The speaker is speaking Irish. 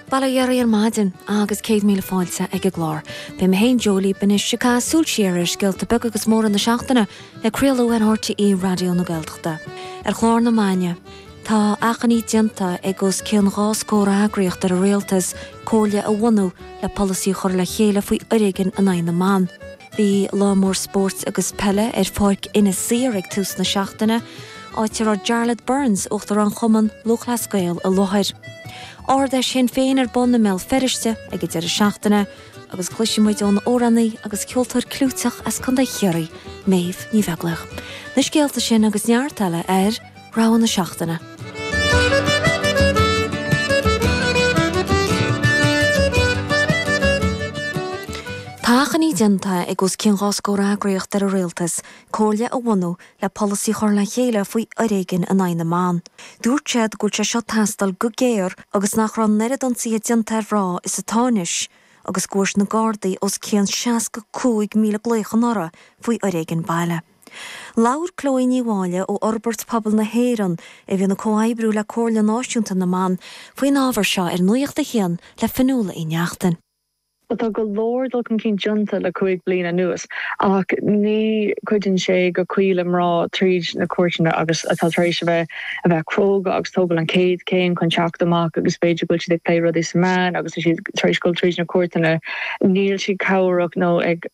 Bail ó Dhia oraibh ar maidin agus 100,000 fáilte ag an gclár. Beidh mé féin Joe libh anois ag caitheamh súil siar ar scéalta beaga agus móra na seachtaine le craoladh ar RTÉ Raidió na Gaeltachta. Ar chlár na maidine, tá achainí déanta ag os cionn 2 scór eagraíocht ar an Rialtas comhairle a bhunú le polasaí a chur le chéile faoi fhoréigean in aghaidh na mban. Bhí lá mór spóirt agus peile ar Pháirc Inis Oírr ag tús na seachtaine, áit a raibh Jarlath Burns, Uachtarán Chumann Lúthchleas Gael i láthair. Ard-Fheis Shinn Féin ar bun i mBéal Feirste ag an deireadh seachtaine agus cloisfidh muid ón amhránaí agus ceoltóir clúiteach as Contae Chiarraí, Méabh Ní Bheaglaoich. Na scéalta sin agus neart eile ar. Rogha na Seachtaine. Tá achainí déanta ag os cionn 2 scór eagraíocht ar an Rialtas comhairle a bhunú le polasaí a chur le chéile faoi fhoréigean in aghaidh na mban. Dúirt siad go bhfuil sé seo ag teastáil go géar agus nach raibh an oiread ionsaithe déanta ar mhná is atá anois agus go bhfuair na Gardaí os cionn 65,000 glaoch anuraidh faoi fhoréigean baile. Labhair Chloe Ní Mháille ó Fhorbairt Pobail na hÉireann, a bhíonn ag comhoibriú le Comhairle Náisiúnta na mBan, faoin ábhar seo ar Nuacht a hAon le Fionnuala Uí Neachtain. Tá go leor dul chun cinn déanta le 5 bliana anuas ach ní chuidíonn sé go cuí le mná tríd na cúirteanna agus atá tar éis a bheith a bheith cróga agus tógáil an chéad chéim chun teacht amach agus b'fhéidir go bhfuil siad ag plé rudaí sa meán agus tá siad tar éis dul tríd na cúirteanna níl siad cabhrach nó ag.